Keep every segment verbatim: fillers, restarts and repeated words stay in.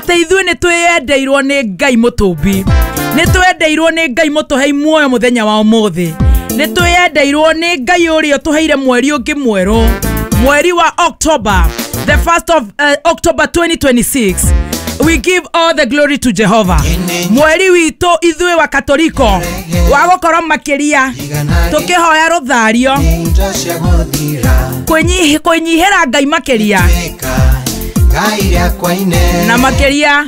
Atĩ ithuĩ nĩ twĩyendeirwo nĩ Ngai mũtũmbi, nĩ twendeirwo nĩ Ngai mũtũhei muoyo mũthenya wa ũmũthĩ, nĩ twĩyendeirwo nĩ Ngai ũrĩa ũtũheire mweri ũngĩ mwerũ, mweri wa October, the first of uh, October twenty twenty-six. We give all the glory to Jehovah. Mweri witũ ithuĩ wa Katoliko wa gũkorwo makĩria tũkĩhoya rũthario, kwĩnyihi- kwĩnyihĩra Ngai makĩria na makĩria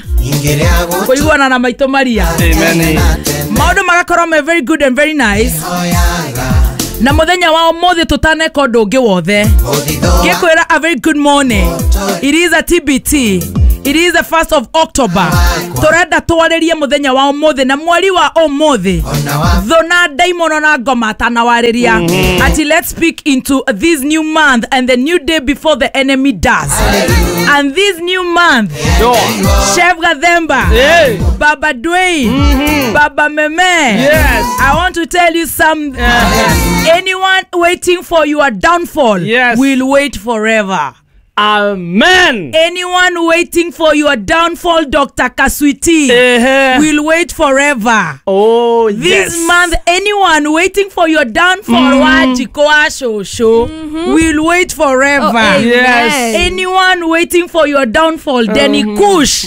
kũiguana na maitũ Maria. Amen. Maũndũ magakorwo me very good and very nice. Na mũthenya wa ũmũthĩ, tũtaneka ũndũ ũngĩ wothe, ngĩkwĩra a very good morning. It is a T B T. It is the first of October. Tũrenda twarĩrie mũthenya wa ũmũthĩ na mweri wa ũmũthĩ, thũ na ndaimono na ngoma atanawarĩria ati let's speak into this new month and the new day before the enemy does. And this new month, Sure. Chef Gathemba, Hey. Baba Dwayne, Baba Meme, Yes. I want to tell you something. Anyone waiting for your downfall Yes. will wait forever. Amen. Anyone waiting for your downfall, Doctor Kaswiti, Ehe. will wait forever. Oh, This yes. month, anyone waiting for your downfall, Wajiko Shosho, will wait forever. Oh, amen. Yes. Anyone waiting for your downfall, Denny Kush,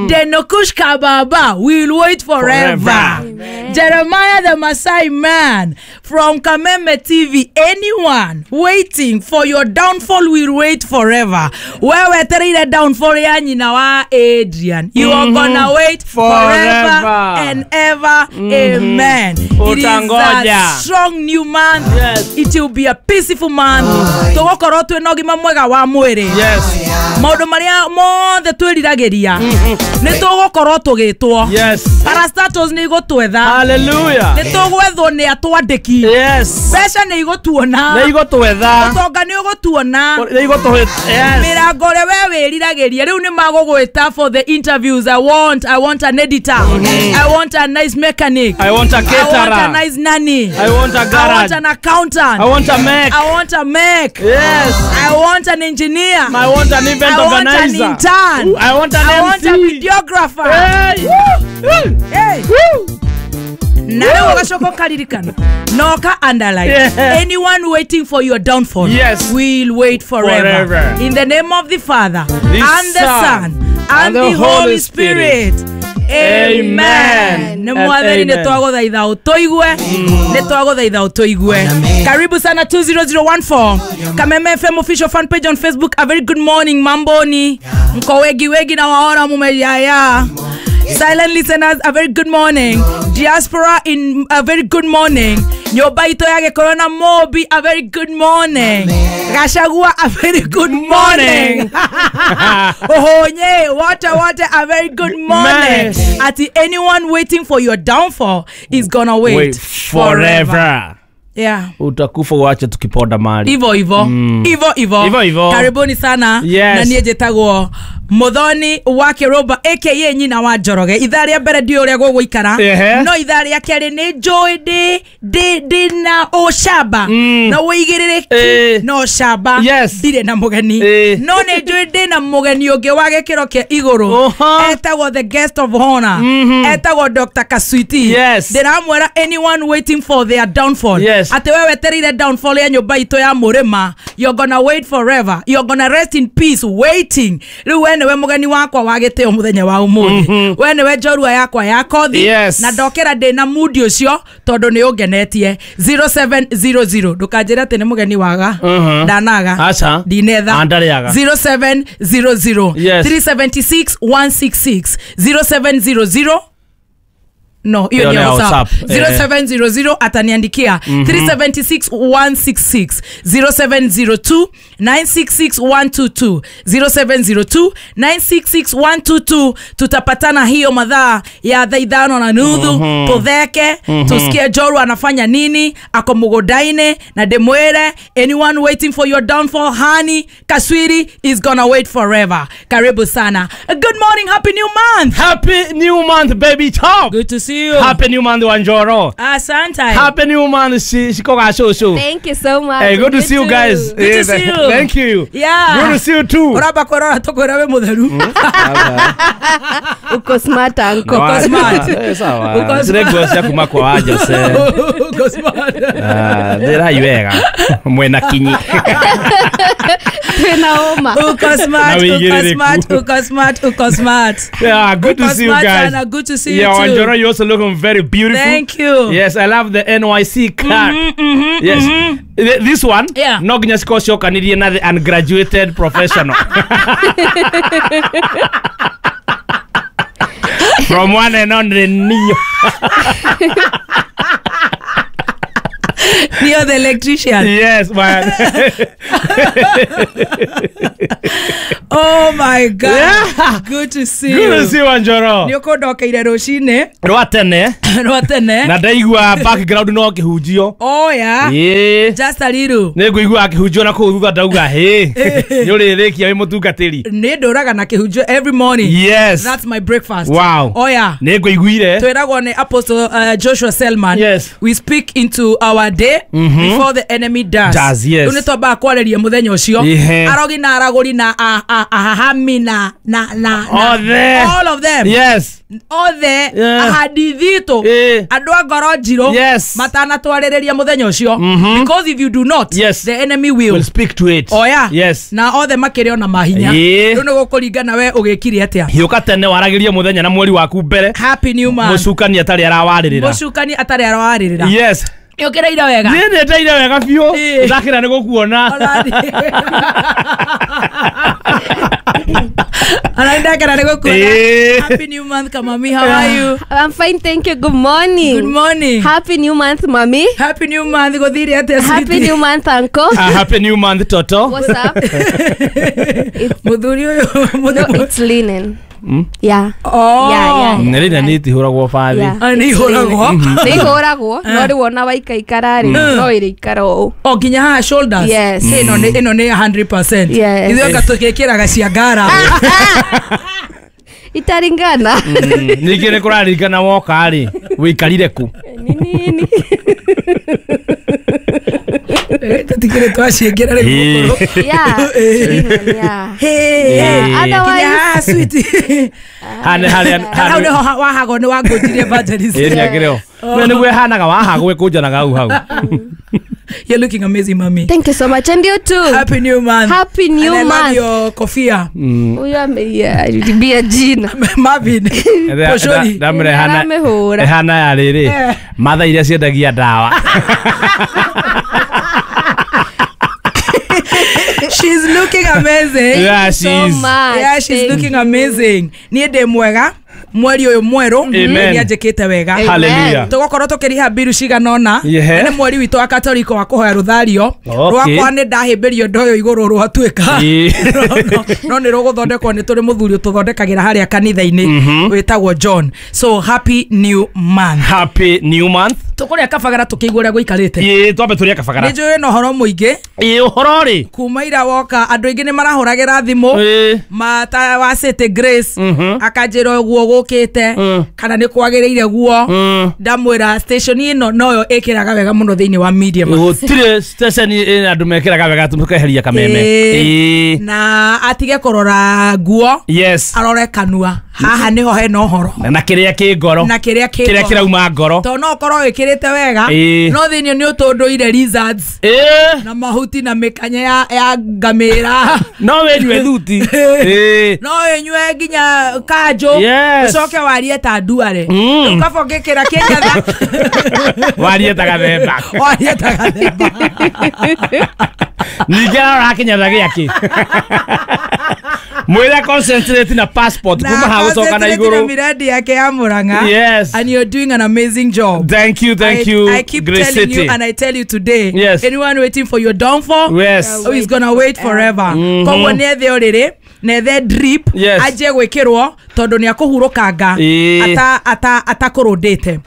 Denny Kush Kababa, will wait forever. Forever. Jeremiah the Masai man from Kameme T V, anyone waiting for your downfall will wait forever. Wewe wetereire downfall ya nyina wa Adrian, you are gonna wait forever, Forever. And ever. Amen. It is a Utangoja. Strong new month. Yes. It will be a peaceful month. Tũgũkorwo twĩna ũgima mwega wa mwĩrĩ. Yes. Maũndũ marĩa mothe twĩriragĩria nĩ tũgũkorwo tũgĩtwo. Yes. Parastatos nĩ igũtwetha. Hallelujah. Nĩ tũgwethwo nĩ atwandĩki. Yes. Mbeca nĩ igũtuona. Nĩ igũtwetha. Ũtonga nĩ ũgũtuona. Nĩ igũtũhĩ. Yes. Mĩrango ũrĩa we wĩriragĩria rĩu nĩ magũgwĩta for the interviews. I want, I want an editor, I want a nice mechanic, I want a I want a caterer. Nice nanny, I want a I want garage. An accountant. I want a mech. I want a mech. Yes. I want an engineer. I want an event I want an organizer. Intern. Ooh, I want an I want a M C. Videographer. Hey. Woo. Hey. Woo. Na rĩu ũgacoka ũkaririkana noka underline, Yeah. anyone waiting for your downfall Yes. will wait forever. Forever. In the name of the Father, The and the Son, Son, and the Holy Spirit, amen. Nĩ And mwathani, nĩ amen. twagũthaitha ũtũigue, nĩ twagũthaitha ũtũigue. Karibu sana. two zero zero one four Kameme F M official fan page on Facebook, a very good morning. Mamboni, mko wengi wengi na waona mumejaya. Silent listeners, a very good morning. Diaspora in, a very good morning. Nyũmba itũ ya Gĩkũyũ na Mobi, a very good morning. Gachagua, a very good morning. Ohonye wote wote, a very good morning. Nice. Ati anyone waiting for your downfall is gonna wait, Wait forever. Yeah. Utakufa uache tukiponda mali. Ivo ivo, ivo ivo. Ivo ivo. Karibuni sana. Yes. Na niĩ njĩtagwo Muthoni wa Kĩrũmba aka nyina wa Njoroge. Ithaa rĩa mbere ndiũ ũrĩa gũgũikara, Ehe. no ithaa rĩa kerĩ nĩ njũĩ ndĩ ndĩ ndĩ na ũcamba na ũigĩrĩrĩki, Eh. na ũcamba. Yes. Ndirĩ na mũgeni, Eh. no nĩ njũĩ ndĩ na mũgeni ũngĩ wa gĩkĩro kĩa igũrũ. Oha. Etagwo the guest of honor, etagwo Doctor Kaswiti. Yes. Ndĩramwĩra, anyone waiting for their downfall, Yes. atĩ we wetereire downfall ya nyũmba itũ ya mũrĩma, you're gonna wait forever. You're gonna rest in peace waiting. Rĩu we nĩwe mũgeni wakwa wa gĩtĩo mũthenya wa ũmũthĩ, we nĩwe njorua yakwa ya kothi. Yes. Na ndokĩra ndĩ na mudi ũcio tondũ nĩ ũngenetie. zero seven zero zero, ndũkanjĩre atĩ nĩ mũgeni waga. Mhm. Ndanaga. Aca. Ndinetha. Ah, ndarĩaga. zero seven zero zero Yes. three seven six one six six, zero seven zero zero, no, hiyo Hiyo ni ni ya ya WhatsApp. WhatsApp. Eh. zero seven zero zero ataniandikia three seven six one six six, zero seven zero two nine six six one two two, zero seven zero two nine six six one two two. Tutapatana hiyo madhaa ya thaa ithano na nuthu, tutheke, tusikie Joru anafanya nini, ako mũgũnda-inĩ, na ndĩmwĩre, anyone waiting for your downfall, honey Kaswiri is gonna wait forever. Karibu sana. Good morning, happy new month. Happy new month, baby top. Good to see see you. Happy new month, Wanjoro. Asante. Happy new month, Shikoga Shosho. Thank you so much. Hey, good to see you guys. Good to see you. Thank you. Yeah. Good to see you too. Uraba korora tokora we mutheru. Uko smart uncle. Uko smart. Eh, sawa. Uko Zire cia kuma kwa waja se. Uko smart. Ah, ndĩrai wega. Mwena kinyi. Twina homa. Uko smart, uko smart, uko smart, uko smart. Yeah, good to Uko see you smart guys. Sana, good to see you Yeah, too. Wanjoro, you also looking very beautiful. Thank you. Yes, I love the N Y C card. Mm-hmm, mm-hmm, yes. Mm-hmm. This one, yeah. No nginya cikocokanirie na the ungraduated professional. From one and only Neo. Neo the electrician. Yes, man. Oh my God. Yeah. Good to see you. Good to see you, Wanjoro. Nĩũkũ ndokeire rũcinĩ. Rwa tene. Rwa tene. Na ndaigua background no kĩhunjio. Oh yeah. Yeah. Just a little. Nĩngũigua kĩhunjio na kũu thutha ndauga hĩ. Nĩũrĩrĩkia wĩ mũtungatĩri. Nĩ ndũraga na kĩhunjio every morning. Yes. That's my breakfast. Wow. Oh yeah. Nĩngũiguire. Twĩragwo nĩ Apostle uh, Joshua Selman. Yes. We speak into our day mm-hmm. before the enemy does. Does, yes. Rĩu nĩtwambaga kwarĩria mũthenya ũcio. Arogi na aragũri na ahahami na na na na all of them. Yes. Othe yeah. Ahadithito yeah. Andũ a ngoro njirũ yes. matanatwarĩrĩria mũthenya ũcio. Mm-hmm. Because if you do not, yes. the enemy will will speak to it. Oh yeah. Yes. Na othe makĩrĩ ona mahinya. Yeah. Rĩu nĩgũkũringana we ũgĩkire atĩa. Hiũka tene waragĩrie mũthenya na mweri waku mbere. Happy new month. Mũcukani atarĩ arawarĩrĩra. Mũcukani atarĩ arawarĩrĩra. Yes. Nĩũkĩrĩire wega. Niĩ nĩndeire wega biũ. Ndakĩra nĩ gũkuona. Anaendakana nĩ gũkuona. Happy new month, Kamami. How are you? I'm fine, thank you. Good morning. Good morning. Happy new month, mami. Happy new month. Gũthire atĩa, sweetie? Happy new month, uncle. Uh, happy new month, Toto. What's up? Mũthuri ũyũ. No, it's linen. Mm? Yeah. Oh. Yeah, yeah. Nĩ linen nĩ itihũragwo bathi. Nĩ ihũragwo. Nĩ ihũragwo, no rĩu ona waikaikara rĩ, no ĩrĩikara ũũ. Oh, nginya haha shoulders. Yes. Ĩno nĩ ĩno nĩ one hundred percent. Yes. Ithuĩ anga tũgĩkĩraga cia ngara. Itaringana. Ningĩ nĩ kũraringana woka rĩ, wĩikarire kũ? Nĩ nini. Tũtikĩrĩ twaciĩkĩra rĩu gũkũrũ. Yeah. Yeah. Hey. Yeah. Otherwise, sweetie. Hane hane hau nĩho wahagwo nĩ wangũnjirie evangelist. Ĩĩ nĩakĩrĩ ho. We nĩguo ĩhanaga wahagwo ĩkũnjanaga hau hau. You're looking amazing, mommy. Thank you so much. And you too. Happy new month. Happy new and I month. love your kofia. Huyo ameibia jina. Marvin. Poshori. Ndamre hana. Hana ya rĩrĩ. Matha iria ciendagia ndawa. She's looking amazing. Yeah, she's so much. Yeah, she's Thank looking you. amazing. Niĩ ndĩ mwega. Mweri ũyũ mwerũ nĩanjĩkĩte wega. Hallelujah. Tũgũkorwo tũkĩriha mbiru cigana ũna. Yeah. Nĩ mweri witũ wa Katoliko wa kũhoya rũthario. Rwakwa nĩ ndahĩmbĩrio ndoyo igũrũ rwatuĩka. No nĩ rũgũthondekwo nĩ tũrĩ mũthuri ũtũthondekagĩra harĩa kanitha-inĩ wĩtagwo John. So happy new month. Happy new month. Tũkũrĩa kabagara tũkĩigua ũrĩa gũikarĩte. Ĩĩ twambe tũrĩe kabagara. Nĩ njũĩ na ũhoro mũingĩ. Ĩĩ ũhoro rĩ. Kuma ira woka andũ aingĩ nĩ marahũragĩra thimũ. Mata wa City Grace akanjĩra ũguo gũkĩte kana nĩ kwagĩrĩire guo. Ndamwĩra station ĩno noyo ĩkĩraga wega mũno thĩinĩ wa media. Gũtirĩ station ĩna andũ mekĩraga wega tũkeheria kameme. Ĩĩ. Na atige kũrora nguo. Yes. Arore kanua. Haha nĩho hena ũhoro. Na kĩrĩa kĩ ngoro. Na kĩrĩa kĩ kĩrĩa kĩrauma ngoro. Tondũ no ũkorwo wĩkĩrĩte wega no thĩinĩ nĩ ũtũndũire lizards. Ĩĩ. Na mahuti na mĩkanya ya ya ngamĩra. No wĩnyue thuti. Ĩĩ. No wĩnyue nginya kanjũ. Ucoke warie ta nduare. Rĩu kaba ũngĩkĩra kĩnyatha. Warie ta gathemba. Warie ta gathemba. Ningĩ arora kĩnyatha gĩake. Mwĩre concentrate na passport kuma ha gũcoka na igũrũ. Na miradi yake ya Murang'a. Yes. And you're doing an amazing job. Thank you, thank I, you. I keep Grace telling City. you and I tell you today. Yes. Anyone waiting for your downfall, yes, is gonna wait forever. Mm-hmm. Koguo nĩ ethe ũrĩrĩ Nethe drip Yes. anjie gwĩkĩrwo tondũ nĩ akũhurũkanga Ĩĩ. ata ata atakũrũndĩte.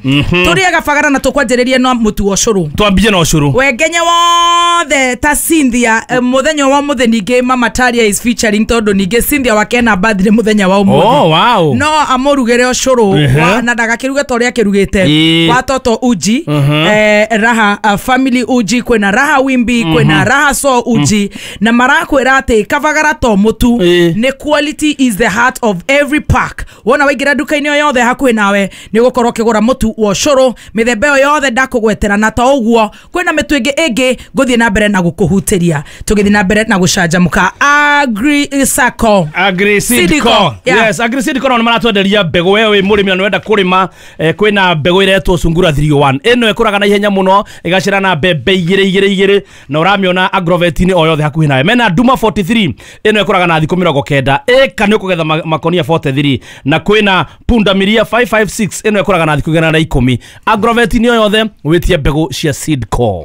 Tũrĩaga bagara na tũkwanjĩrĩria na mũtu wa ũcũrũ. Twambie na ũcũrũ. Wengenya wothe ta Cynthia, eh, mũthenya wa mũthĩ ningĩ Mama Taria is featuring tondũ ningĩ Cynthia wake na birthday mũthenya wa ũmũthĩ. Oh, wow. No amũrugĩre ũcũrũ Ehe. wa- na ndagakĩruge ta ũrĩa akĩrugĩte Ĩĩ. wa toto uji, Mhm. eh, raha uh, family uji, kwĩna raha wimbi, kwĩna raha so uji, na marakwĩra atĩ kabagara to mũtu, Ĩĩ. nĩ quality is the heart of every pack. Wona waingĩra nduka-inĩ o yothe hakuhĩ nawe nĩ ũgũkorwo ũkĩgũra mũtu wa ũcũrũ mĩthemba ĩyo yothe ndakũgwetera, na to ũguo kwĩna mĩtu ĩngĩ ĩngĩ ngũthiĩ na mbere na gũkũhutĩria tũgĩthiĩ na mbere na gũcanjamũka. Agri Sacco. Agri Seed Seed Co. Co. Yeah. Yes, Agri Seed Co nao nĩ maratwenderia mbegũ. We wĩ mũrĩmi na nĩwenda kũrĩma, eh, kwĩna mbegũ ĩretwo Sungura three oh one. Ĩno ĩkũraga na ihenya mũno, ĩgacĩra na mbembe igĩrĩ igĩrĩ igĩrĩ, na ũramĩona agrovet-inĩ o yothe hakuhĩ nawe. Mena Duma forty-three, ĩno ĩkũraga na thikũ mĩrongo kenda, ĩka nĩ ũkũgetha ma- makonia forty-three. Na kwĩna Punda Milia five five six, ĩno ĩkũraga na thikũ igana na ikũmi. Agrovet-inĩ o yothe wĩtie mbegũ cia Seed Co.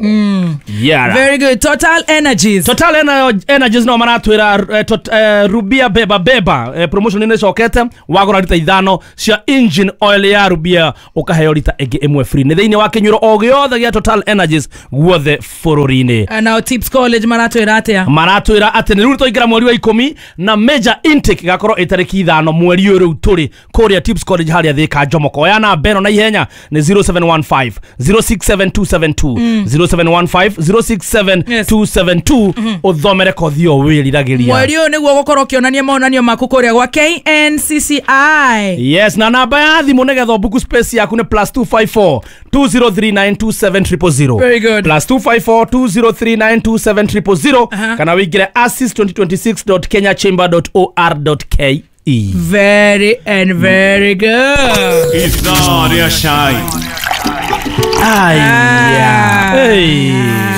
Yeah. Very good. Total Energies. Total Ener- Energies no maratwĩra eh, tot- eh, Rubia beba beba, eh, promotion nĩ ĩcokete. Wagũra rita ithano cia engine oil ya Rubia ũkaheo rita ĩngĩ ĩmwe free. Nĩ thĩinĩ wa kĩnyuĩro o gĩothe gĩa Total Energies guothe bũrũri-inĩ. Nao Tips College maratwĩra atĩa? Maratwĩra atĩ nĩ rĩu twaingĩra mweri wa ikũmi na major intake igakorwo ĩ tarĩki ithano mweri ũyũ rĩu tũrĩ kũrĩa Tips College harĩa Thĩka Njomoko. Oya namba ĩno na ihenya, nĩ zero seven one five zero six seven two seven two, zero seven one five zero six seven two seven two, ũthomere kothi ĩyo wĩriragĩria. Mweri ũyũ nĩguo gũkorwo ũkĩonania monanio maku kũrĩa gwa K N C C I. Yes, na namba ya thimũ nĩgetha ũbuku space yaku nĩ plus two five four two zero three nine two seven zero zero zero. Very good. plus two five four two zero three nine two seven zero zero zero, Aha. kana wĩingĩre assist twenty twenty-six dot kenya chamber dot or dot K E. Very and very good. Ithaa rĩa cai. Aya. Ah. Hey.